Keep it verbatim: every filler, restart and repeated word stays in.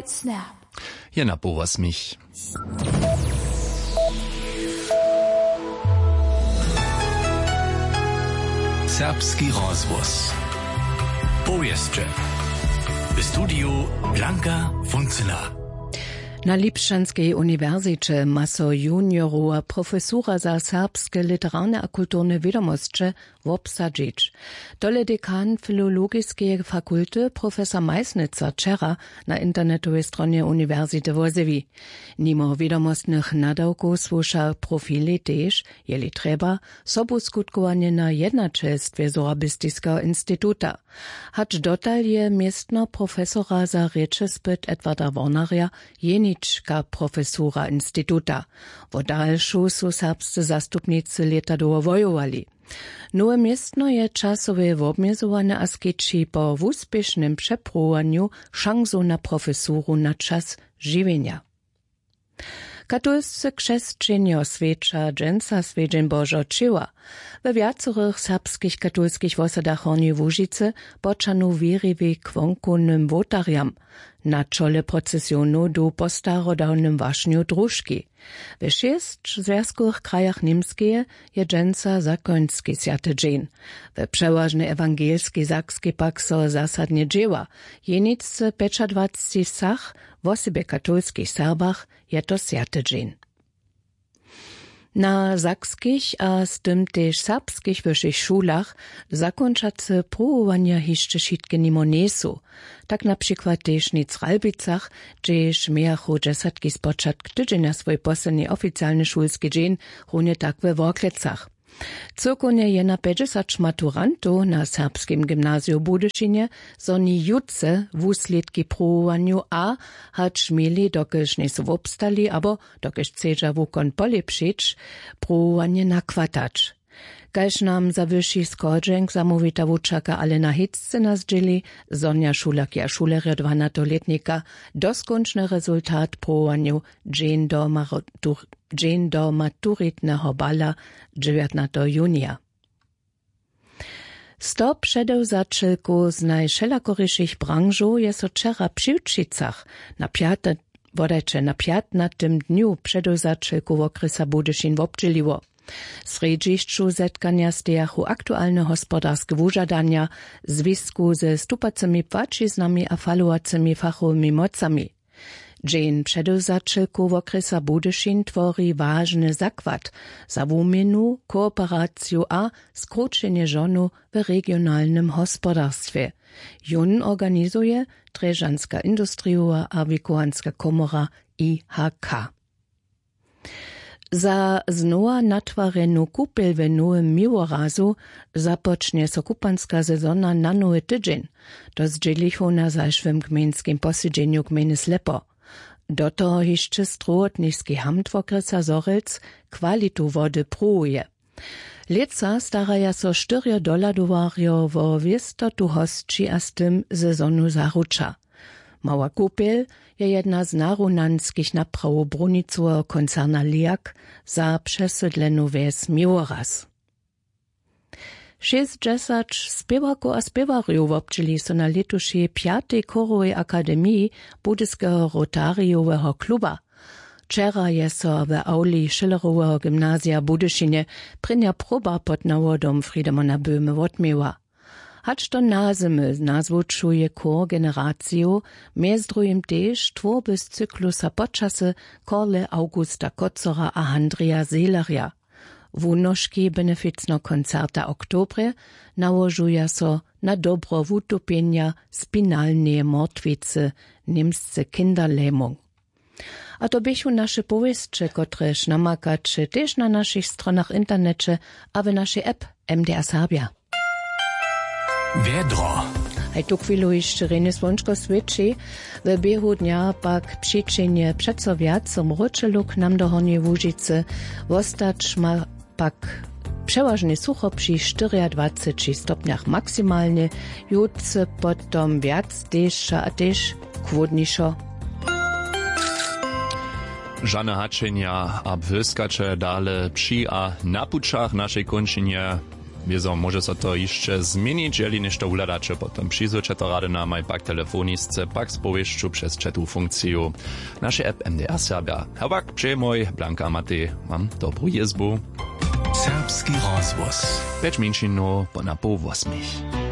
Snap. Jena po wosmich. Serbski rozhłos. Powěsće. W studiju Blanka Funcyna. Na Lipšćanskej uniwersiće ma so juniorowa profesura za serbske literarne a kulturne wědomosće wobsadźić. Tole dekan filologiskeje fakulty profesor Meisnitzer wčera na internetowej stronje uniwersity wozjewi. Nimo wědomostnych nadawkow słuša profili tež, jeli trjeba, sobuskutkowanjena jednaćelstwje Sorabistiskeho instituta. Hač dotal je městno profesora za rěčespyt Edwarda Wornarja jenička profesura instituta. Wo dalšu su serbscy zastupnicy lěta dołho wojowali. Nowe městno je časowe wobmjezowane a skeći po wuspěšnym přepruwowanju šansu na profesuru na čas žiwjenja. Katolscy křesćenjo swjeća dźensa swjedźeń Božeho ćěła. We wjacorych serbskich katolskich wosadach Hornjeje Łužicy počanu wěriwi k wonkownym wołtarjam. Na čole procesionow du po starodawnym wašnju družki. We šěsć zwjazkowych krajach Němskeje je dźensa zakonski swjaty dźeń. We přewažnej ewangelskej Sakskej pak so zasadnje dźěła. Jenicce pjećadwacci wsach, wosebje katolskich Serbach, je to swjaty dźeń. Na sakskich a z tym tež serbskich wyšich šulach zakónčace pruwowanja hišće wšitke nimo njejsu. Tak na přikład tež nic w Ralbicach, hdźež mějachu dźesatki spočatk tydźenja swój posledni oficialny šulski dźeń, runje tak we Worklecach. Cyłkownje je na pjećdźesać maturantow na Serbskim gymnaziju w Budyšinje, zo ni jutře wuslědki pruwowanju a, hač měli, dokelž njejsu wobstali abo dokelž chcedźa wukon polěpšić, pruwowanje nakwatać. Kaž nam za wyši schodźenk zamołwita wučerka Alena Hitz na zdźěli, zhonja šulerki a šulerjo dwanateho lětnika doskónčny rezultat pruwowanjow dźeń do maru-, dźeń do maturitneho bala dźewjatnateho junija. Sto předewzaćelkow z najwšelakorišich branžow je so wčera při Wčicach na pjate, wodajće, na pjatnatym dnju předewzaćelkow wokrjesa Budyšin wobdźěliło. W srjedźišću zetkanja stejachu aktualne hospodarske wužadanja, zwisku ze stupacymi płaćiznami a falowacymi fachowymi mocami. Dźeń předewzaćelkow wokrjesa Budyšin twori wažny zakład za wuměnu, kooperaciju a skrućenje žonow w regionalnym hospodarstwje. Jón organizuje Drježdźanska industrijowa a wikowanska komora I H K. Za znowa natwarjenu kupel w Nowym Miłorazu započnje so kupanska sezona na nowy tydźeń. To zdźělichu na zašłym gmejnskim posedźenju gmejny Slepo. Do toho hišće strowotniski hamt wokrjesa Zhorjelc kwalitu wody pruwuje. Lětsa staraja so štyrjo dohladowarjo wo wěstotu hosći a z tym sezonu zaruča. Mała kupjel je jedna z narunanskich naprawow brunicoweho koncerna Liak za přesydlenu wjes Miłoraz. Šěsćdźesać spěwarkow a spěwarjow wobdźěli so na lětušej pjatej chórowej akademiji Budyskeho rotarijoweho kluba. Wčera je so w awli Schilleroweho gymnazija w Budyšinje prěnja proba pod nawodom Friedemana Böhme wotměła. Hač do nazymy nazwučuje chór generacijow, mjez druhim tež twórby z cyklusa Počasy Korle Augusta Kocora a Handrija Zehlerja. Wunoški beneficneho koncerta w oktobrje nałožuja so na dobro wutupjenja spinalneje mortwicy, němsce Kinderlähmung. A to běchu naše powěsće, kotrež namakaće tež na našich stronach w interneće a w našej app M D R Serbja. Wjedro. Haj tuchwilu hišće rjenje słónčko swěći. W běhu dnja pak přićehnje přeco wjac mróčelu k nam do Hornjeje Łužicy. Wostać ma pak přewažnje sucho při štyriadwaceći stopnjach maksimalnje, jutře potom wjac težša a tež chłódnišo. Žane hačenja a błyskaće dale při a na pućach našej kónčinje. Wězo móže so to hišće změnić, jeli něšto wuhladaće, potom přizwyće to rady namaj pak telefonisce pak z powěsću přez ćetu funkciju naše app mdr serbja. A pak přejemoj blanka matej, mam dobru jězbu. Serbski rozhłos. Pjeć mjeńšinow po na poł wosmich.